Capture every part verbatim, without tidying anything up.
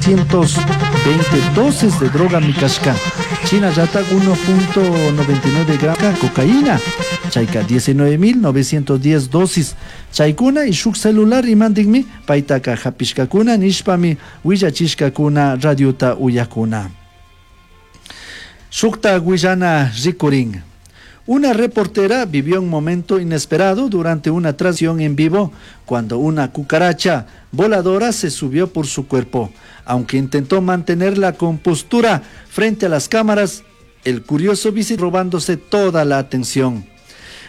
novecientos veinte dosis de droga mikashka. Shinallatak uno punto noventa y nueve gramos cocaína, chayka diecinueve mil novecientos diez dosis. Chaykuna y shuk celular imandikmi paytaka hapishkakuna nishpami willachishkakuna radiota uyakuna. Shukta willana rikurin. Una reportera vivió un momento inesperado durante una transmisión en vivo cuando una cucaracha voladora se subió por su cuerpo. Aunque intentó mantener la compostura frente a las cámaras, el curioso visitó robándose toda la atención.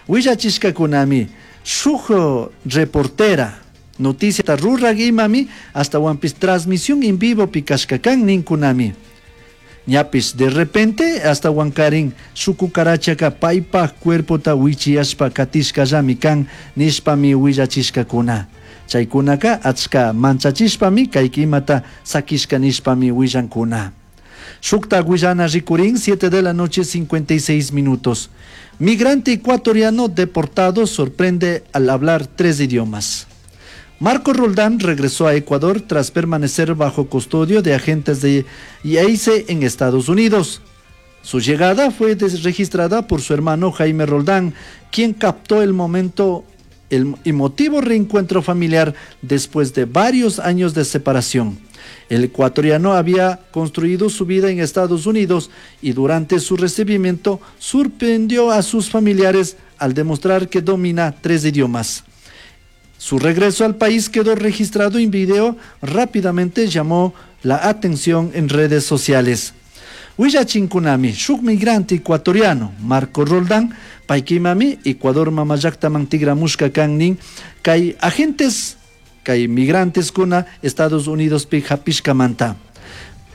Willachishkakunami, shuj reportera, noticia rurag imami, hasta wampis transmisión en vivo pikashkakan ninkunami. Ñapis de repente hasta wankarin su cucarachaka paypaj cuerpota wichiyashpa katishkallami kan nishpami willachishkakuna. Chaykunaka achka manchachishpami kaykimata sakishka nishpami willankuna. Shukta willana rikurin, siete de la noche cincuenta y seis minutos. Migrante ecuatoriano deportado sorprende al hablar tres idiomas. Marco Roldán regresó a Ecuador tras permanecer bajo custodio de agentes de I A C en Estados Unidos. Su llegada fue registrada por su hermano Jaime Roldán, quien captó el momento, el emotivo reencuentro familiar después de varios años de separación. El ecuatoriano había construido su vida en Estados Unidos y durante su recibimiento sorprendió a sus familiares al demostrar que domina tres idiomas. Su regreso al país quedó registrado en video, rápidamente llamó la atención en redes sociales. Willachinkunami, shuk migrante ecuatoriano, Marco Roldán, paykimami, Ecuador mamallaktaman tigramushka kan nin, kay agentes, kay migrantes kuna Estados Unidos pi hapishkamanta.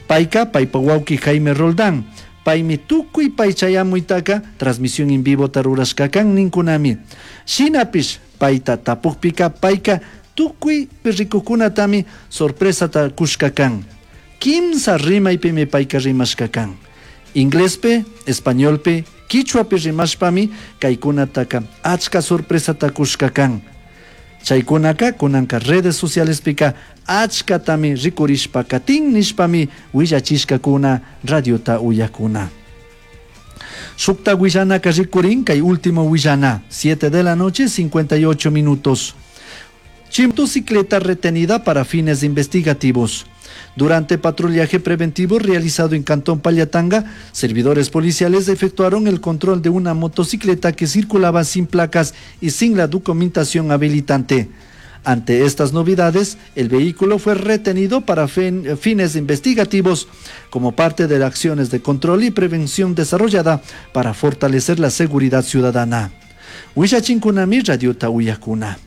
Payka, paypa wawki Jaime Roldán, paymi tukuy paychayamuytaka, transmisión en vivo tarurashka kan ninkunami. Shinapish, payta tapukpika, payka tukuy rikukunatami sorpresata kushka kan. Kimsa rimaypimi payka rimashka kan. Inglespe, españolpe, quichuapi rimashpami kaykunataka achka sorpresata kushka kan. Chaykunaka kunanka redes socialespika achkatami rikurishpa katin nishpami willachishkakuna radiota uyakuna. Shukta willanaka rikurin kay último willana, siete de la noche, cincuenta y ocho minutos. Motocicleta retenida para fines investigativos. Durante patrullaje preventivo realizado en Cantón Pallatanga, servidores policiales efectuaron el control de una motocicleta que circulaba sin placas y sin la documentación habilitante. Ante estas novedades, el vehículo fue retenido para fin-, fines investigativos como parte de las acciones de control y prevención desarrollada para fortalecer la seguridad ciudadana. Huillachinkunami, Radiota Uyakuna.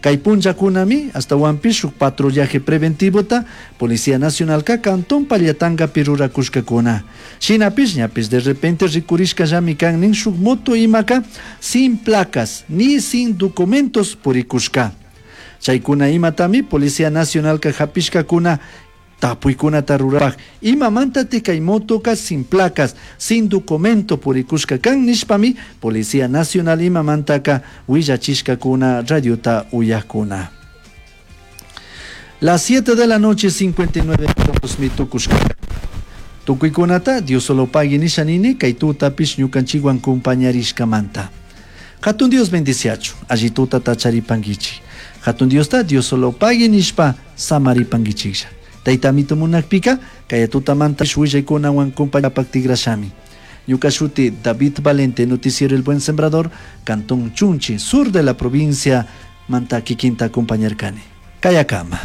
Kaypunchakunami, hasta Huampi, shuk patrullaje preventivo ta, Policía Nacional ka Cantón Pallatanga pirurakushkakuna. Shinapish, ñapish, de repente rikurishka llami kan nin shuk moto imaka, sin placas ni sin documentos purikushka. Chaykuna imatami, Policía Nacional ka hapishkakuna, tapuykunata rurapaj. Imamanta kay motoka sin placas, sin documento purikushka kan nishpami, Policía Nacional imamantaka willachishkakuna radiota uyakuna. Las siete de la noche, cincuenta y nueve minutos, mi tukushka. Tukuykunata, Dios solo pague nishanini, kay tutapish ñukanchikwan kumpañarishkamanta. Hatun Dios bendiciachu, allí tuta tacharipanguichi. Hatun Dios ta, Dios solo pague nishpa samaripanguichiklla. Taytamito munakpika, kay tutamanta willaykunawan kumpañapak tigrashami. Ñuka shuti David Valente, noticiero El Buen Sembrador, Cantón Chunchi, sur de la provincia Manta, kikinta kumpañarkani. Kayakama.